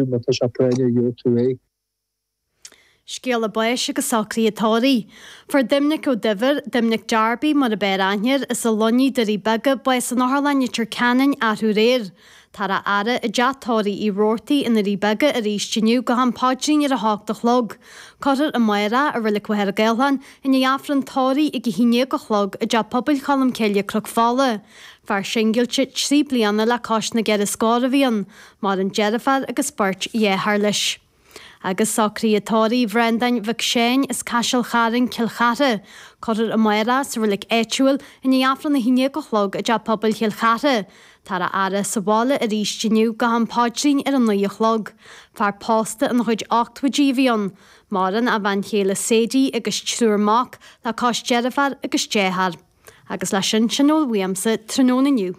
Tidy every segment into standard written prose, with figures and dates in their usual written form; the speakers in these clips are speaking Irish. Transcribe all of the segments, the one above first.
Má tá sé práinneach gheobhaidh tú é. Scéala báis agus socruithe tórraimh. Fuair Doimnic Ó Duibhir, Doimnic Darby mar ab fhearr aithne air, as an Luinnigh, Doirí Beaga, bás in Otharlann Leitir Ceanainn arú aréir. Táthar á fhaire i dteach tórraimh Uí Robhartaigh i nDoirí Beaga arís inniu go ham paidrín ar a hocht a chlog. Cuirfear amárach i Reilig Mhachaire Gathlán i ndiaidh Aifreann tórraimh ag a haon déag a chlog i dTeach Pobail Cholmcille, Cnoc Fola. Fear singilte 3 bliana le cois na gceithre scór a bhí ann. Maireann deirfiúr agus beirt dhearthár leis. Agus socruithe tórraimh Bhreandáin Mhic Seáin as Caiseal Chairn, Cill Chartha. Cuirfear amárach sa reilig áitiúil i ndiaidh Aifreann a haon déag a chlog i dTeach Pobail Chill Chartha. Táthar á fhaire sa bhaile arís inniu go ham paidrín ar a naoi a chlog. Fear pósta ina chuid ochtóidí a bhí ann. Maireann a bhean chéile Sadie agus triúr mac le cois deirfiúr agus dearthár. Agus leis sin, sin a bhfuil uaimse tráthnóna inniu.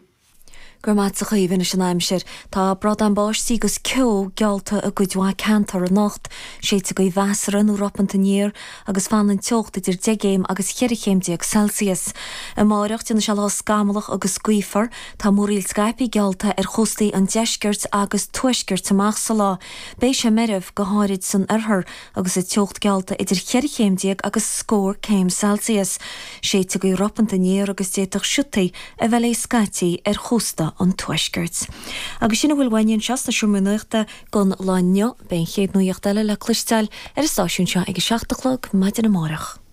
Go raibh maith agat a Chaoimhe anois an aimsir. Tá bradán báistí agus ceo geallta i gcuid mhaith ceantar anocht. Séidfidh gaoth mheasartha nó ropanta aniar agus fanfaidh an teocht idir 10 gcéim agus 14 chéim Celsius. Amáireach, déanfaidh sé lá scamallach agus gaofar. Tá múraíl scaipthe geallta ar chóstaí an deiscirt agus tuaiscirt amach sa lá. Beidh sé meirbh, go háirid san oirthear, agus an teocht geallta idir cheithre chéim déag agus scór céim Celsius. Séidfidh gaoth ropanta aniar agus d'fhéadfadh siotaí a bheith léi scaití ar chósta an tuaiscirt. Agus sin a bhfuil uainne anseo sna Seomraí Nuachta don lá inniu. Beidh an chéad nuacht eile le cloisteáil ar an stáisiún seo ag a 7 a chlog maidin amárach.